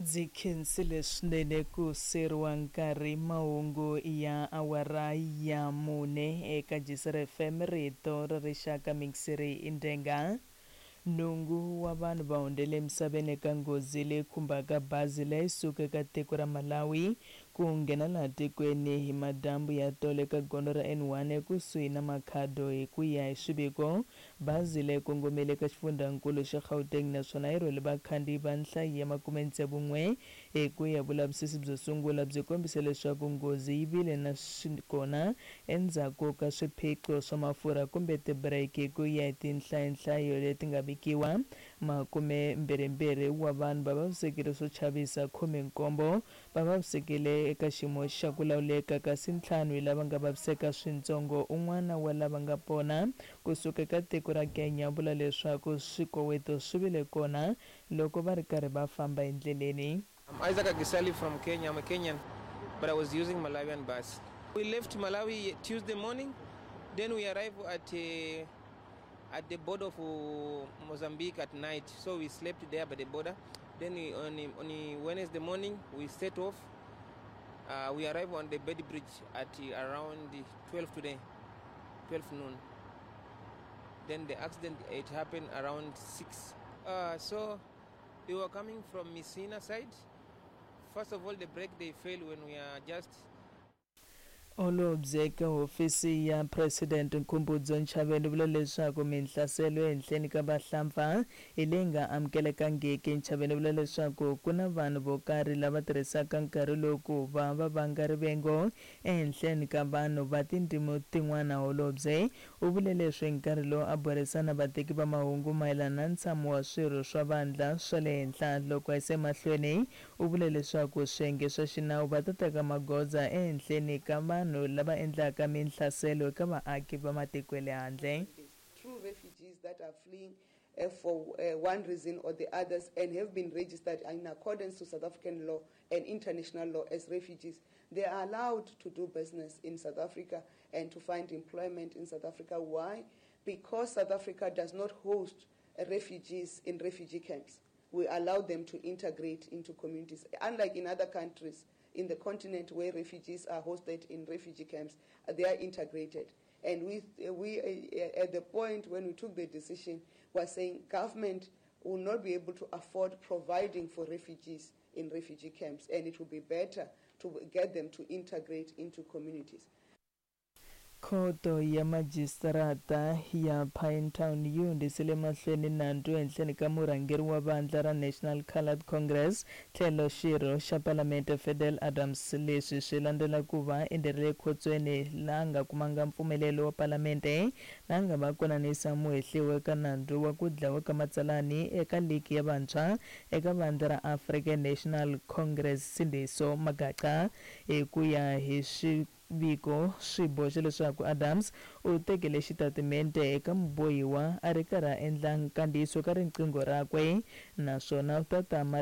Ndzi khensile swinene ku seriwa nkarhi mahungu ya awara ya mune eka Jisr FM rito ra rixaka mixiri indenga. Nhungu wa vanhu va hundzele emisaveni eka nghozi leyi khumbaka bazi leyi suka eka tiko ra Malawi ku nghena laha tikweni hi madyambu ya tolo eka gondzo ra N1 ekusuhi na Makhado. Hi ku ya hi swiviko, bazi leyi kongomile eka xifundzankulu xa Gauteng naswona yi rhwele vakhandziyi va nhlayo ya 61. Hi ku ya vulavisisi byo sungula byi kombise leswaku nghozi yi vile na kona endzhaku ka swiphiqo swa mafurha kumbe tibireki. Hi ku ya hi tinhlayonhlayo leti nga vikiwa, 22 wa vanhu va vavisekile swo chavisa, 17 va vavisekile eka xiyimo xa ku lawuleka, kasi 5 hi lava nga vaviseka swintsongo. Un'wana wa lava nga pona kusuka eka tiko ra Kenya u vula leswaku swikoweto swi vile kona loko va ri karhi va famba endleleni. I'm Isaac Agisali from Kenya. I'm a Kenyan, but I was using Malawian bus. We left Malawi Tuesday morning, then we arrived at the border of Mozambique at night. So we slept there by the border. Then on Wednesday morning, we set off. We arrived on the Beitbridge at around 12 today, 12 noon. Then the accident, it happened around 6. So we were coming from Messina side. First of all, the brake, they failed when we are just Holobye eka hofisi ya President Nkhumbudzo Ntshavheni u vula leswaku minhlaselo ehenhleni ka vahlampfa hi leyi nga amukelekangiki. Ntshavheni u vula leswaku ku na vanhu vo karhi lava tirhisaka nkarhi lowu ku va va vanga rivengo ehenhleni ka vanhu va tindzimi tin'wana. Holobye u vule leswi nkarhi lowu a burisana vateki va mahungu mayelana na ntshamo wa swirho swa vandla swa le henhla. Loko a yisa emahlweni u vule leswaku swiyenge swa xinawu va ta teka magoza ehenhleni ka vanhu lava endlaka minhlaselo eka vaaki va matiko ya le handle. True refugees that are fleeing for one reason or the others and have been registered in accordance to South African law and international law as refugees, they are allowed to do business in South Africa and to find employment in South Africa. Why? Because South Africa does not host refugees in refugee camps. We allow them to integrate into communities. Unlike in other countries in the continent where refugees are hosted in refugee camps, they are integrated. And we at the point when we took the decision, were saying government will not be able to afford providing for refugees in refugee camps, and it will be better to get them to integrate into communities. Khoto ya majisitarata ya Pinetown yi hundzisele mahlweni nandzu ehenhleni ka murhangeri wa vandla ra National Coloured Congress tlhelo xirho xa Palamente Fadil Adams. Leswi swi landzela ku va enderile ekhotsweni laha nga kumanga mpfumelelo wa Palamente la nga va konanisa muhehliwa eka nandzu wa ku dlawa ka matsalani eka ligi ya vantshwa eka vandla ra African National Congress Sindiso Magaqa. Hi ku ya hi swiviko swi boxa leswaku Adams u tekele xitatimende eka mubohiwa a ri karhi a endla nkandziyiso ka riqingho rakwe naswona u ta tama.